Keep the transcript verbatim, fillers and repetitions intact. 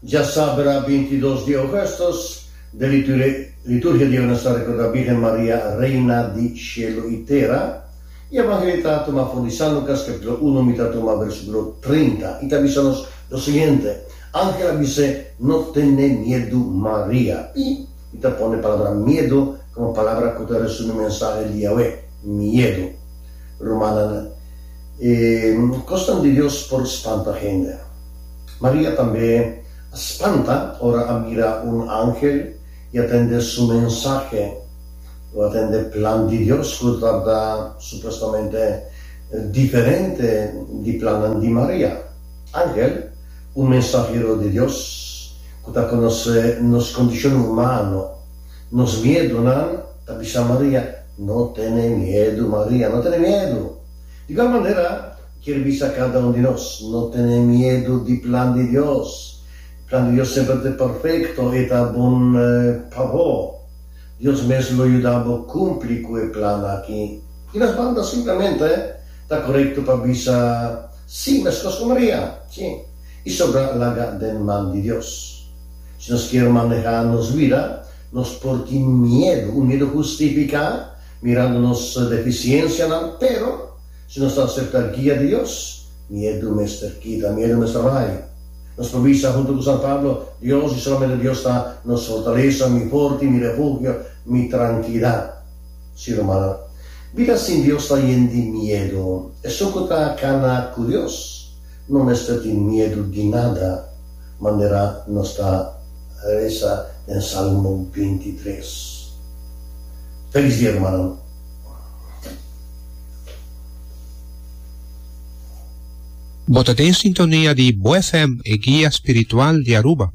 Djasabra bintidos di ougùstùs, den liturgia di nos ta rekordá Birgen Maria, Reina di Shelu i Tera. E evangelio ta tumá for di San Lukas kapítulo un, mi ta tuma versíkulo trinta, i ta bisa nos lo siguiente: Angel a bis'é, No tene miedu, Maria. I mi ta pone palabra miedu komo palabra ku ta resumí mensahe di awe, miedu. Rumannan, e kosnan di Dios por spanta hende. Maria tambe a spanta ora a mira un angel i a tende su mensahe, o a tende plan di Dios ku tabata supuestamente diferente di plannan di Maria. Angel, un mensahero di Dios ku ta konosé nos kondishon humano, nos miedunan, ta bisa Maria, No tene miedu, Maria, no tene miedu. Di igual manera, kier bisa kada un di nos, no tene miedu di plan di Dios. Plan di Dios semper ta perfekto i ta bon pa bo. Dios mes lo yuda bo kumpli ku e plan aki. Di nos banda simplemente ta korekto pa bisa sí meskos ku Maria, sí, i sobra laga den man di Dios. Si nos kier manehá nos bida, nos por tin miedu, un miedu hustifiká, mirando nos defisiensianan, pero si nos ta aseptá guia di Dios, miedu mester kita, miedu mester bai. Nos por bisa huntu ku San Pablo, Dios i solamente Dios ta nos fortalesa, mi forti, mi refugio, mi trankilidat. Sí, rumannan, bida sin Dios ta yen di miedu. Esun ku ta kana ku Dios no mester tin miedu di nada, manera nos ta resa den Salmo binti tres. Felis dia, rumannan. Bo ta den sintonia di Bo F M, e guia spiritual di Aruba.